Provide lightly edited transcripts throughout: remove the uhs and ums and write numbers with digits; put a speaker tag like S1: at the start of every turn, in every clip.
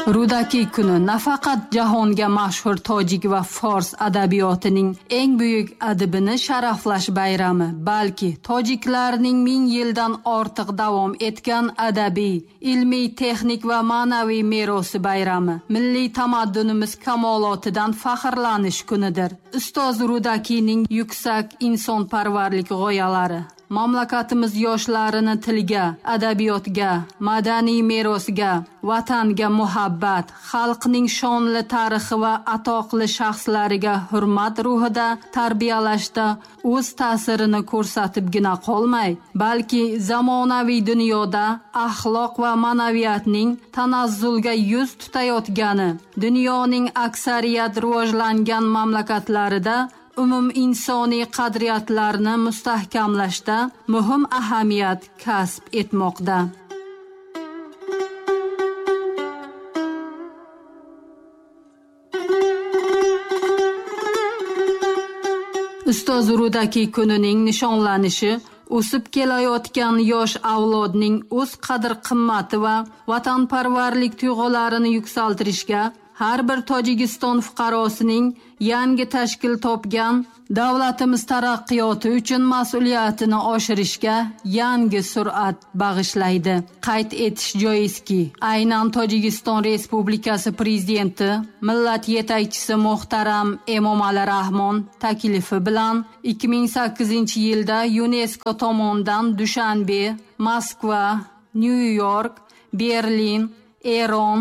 S1: Rudakiy kuni nafaqat jahonga mashhur tojik va fors adabiyotining eng buyuk adibini sharaflash bayrami, balki tojiklarning 1000 yildan ortiq davom etgan adabiy, ilmiy, texnik va ma'naviy merosi bayrami, milliy tamaddunimiz kamolotidan faxrlanish kunidir. Ustoz Rudakiyning yuksak insonparvarlik g'oyalari mamlakatimiz yoshlarini tilga, adabiyotga, madaniy merosga, vatanga muhabbat, xalqning shonli tarixi va atoqli shaxslariga hurmat ruhida tarbiyalashda o'z ta'sirini ko'rsatibgina qolmay, balki zamonaviy dunyoda axloq va ma'naviyatning tanazzulga yuz tutayotgani, dunyoning aksariyat rivojlangan mamlakatlarida umuminsoniy qadriyatlarni mustahkamlashda muhim ahamiyat kasb etmoqda. Ustoz Rudakiy kunining nishonlanishi o'sib kelayotgan yosh avlodning o'z qadr-qimmati va vatanparvarlik tuyg'ularini yuksaltirishga, har bir Tojikiston fuqarosining yangi tashkil topgan davlatimiz taraqqiyoti uchun mas'uliyatini oshirishga yangi sur'at bag'ishlaydi. Qayd etish joizki, aynan Tojikiston Respublikasi prezidenti, millat yetakchisi muhtaram Emomali Rahmon taklifi bilan 2008-yilda UNESCO tomonidan Dushanbe, Moskva, Nyu-York, Berlin, Eron,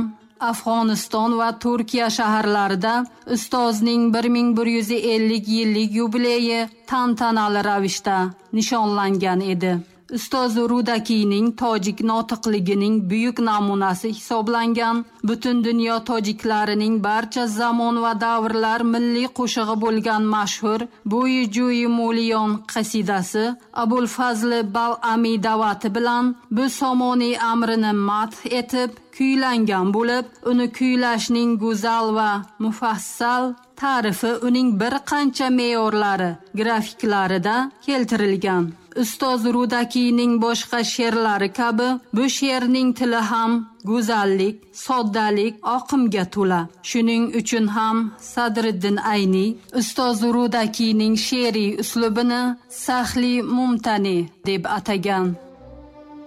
S1: Afg'oniston va Turkiya shaharlarida ustozning 1150 yillik yubileyi tantanali ravishda nishonlangan edi. Ustoz Rudakiyning tojik notiqligining buyuk namunasi hisoblangan butun dunyo tojiklarining barcha zamon va davrlar milliy qo'shig'i bo'lgan mashhur Bo'yi Jo'yi Mo'liyon qasidasi Abul Fazl Bal'amiy da'vati bilan bu Somoniy amrini madh etib kuylangan bo'lib, uni kuylashning go'zal va mufassal ta'rifi uning bir qancha me'yorlari grafiklarida keltirilgan. Ustoz Rudakiyning boshqa she'rlari kabi bu she'rning tili ham go'zallik, soddalik, oqimga to'la. Shuning uchun ham Sadriddin Ayniy Ustoz Rudakiyning she'riy uslubini sahli mumtani deb atagan.